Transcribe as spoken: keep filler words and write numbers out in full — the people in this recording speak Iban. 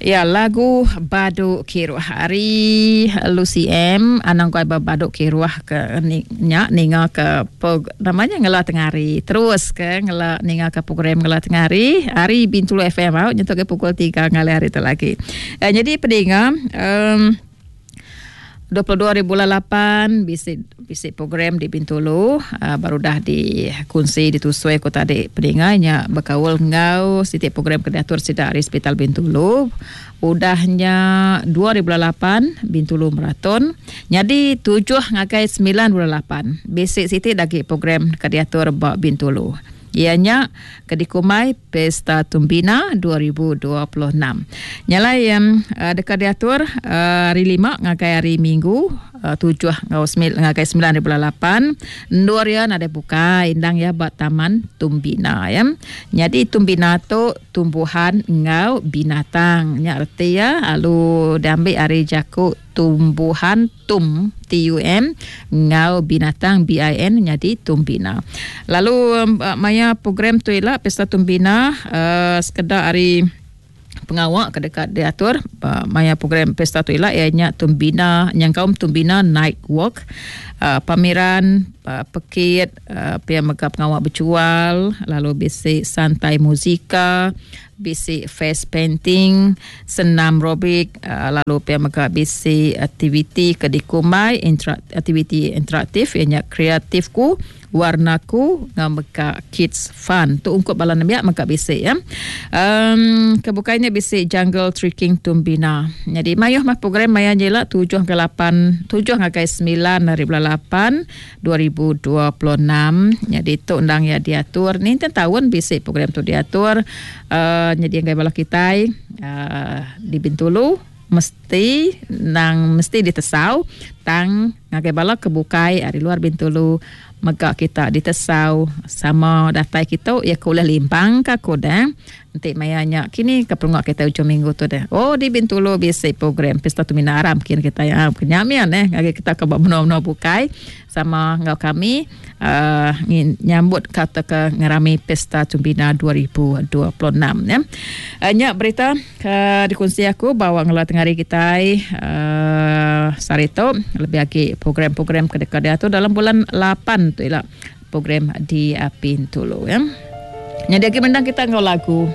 Ya, lagu Badu Kiruh ari Lucy M. Anang guai badu kiruh ke ni, nya ninga ke pog, namanya ngela tengah hari. Terus ke ngela ninga ke program ngela tengah hari hari Bintulu F M au nyentuk ke pukul tiga ngalih hari tu lagi. Eh, jadi peninga um, dua puluh dua ribu lapan bisi bisi program di Bintulu uh, baru dah dikunsi ditusui aku tadi peninga nya berkaul ngau siti program ke diatur sida ari Hospital Bintulu. Udahnya dua ribu lapan Bintulu Marathon. Jadi tujuh ngagai sembilan ribu lapan bisi siti lagi program ke diatur ba Bintulu. Ianya ke dikumbai Pesta Tumbina dua ribu dua puluh enam. Nyalai um, dekat diatur uh, hari lima ngagai hari Minggu uh, tujuh ngau sembilan ngagai sembilan ribu lapan. Endur ya nadai buka indang ya ba Taman Tumbina ya. Jadi Tumbina tu tumbuhan ngau binatang. Nya reti ya alu diambil ari jaku tumbuhan tum T U M ngau binatang B I N jadi Tumbina. Lalu um, maya program tu ila Pesta Tumbina uh, sekedar hari pengawak ke dekat diatur uh, maya program Pesta tu ila ianya Tumbina nyangkaum Tumbina Night Walk, uh, pameran uh, pekit uh, pia mega pengawak berjual, lalu bisi santai muzika, bisi face painting, senam aerobik, uh, lalu pia mega bisi aktiviti ke dikumbai intera- aktiviti interaktif ianya kreatifku warnaku ngau mega kids fun tu ungkup bala nembiak mega bisi ya. Um, kebukainya bisi jungle trekking Tumbina. Jadi mayuh mah program maya jela tujuh ke lapan tujuh ngagai sembilan hari bulan lapan dua ribu dua puluh enam. Jadi tu undang ya diatur ni tahun bisi program tu diatur. Uh, jadi ngai bala kitai uh, di Bintulu mesti nang mesti ditesau tang ngagai bala kebukai ari luar Bintulu mega kita ditesau sama datai kita ya kuliah limpang ka kodang nanti mayanya kini ke perungak kita ujung minggu tu deh. Oh di Bintulu bisi program Pesta Tumbina Aram kini kita ya kenyamian eh ngagai kita ke menua-menua bukai sama ngau kami uh, nyambut kata ke ngerami Pesta Tumbina dua ribu dua puluh enam ya. Uh, nya berita ke dikongsi aku bawa ngela tengah hari kita uh, sehari tu lebih lagi program-program ke dekat dia tu dalam bulan lapan tu ialah program di Bintulu ya. Jadi lagi mendang kita ngau lagu.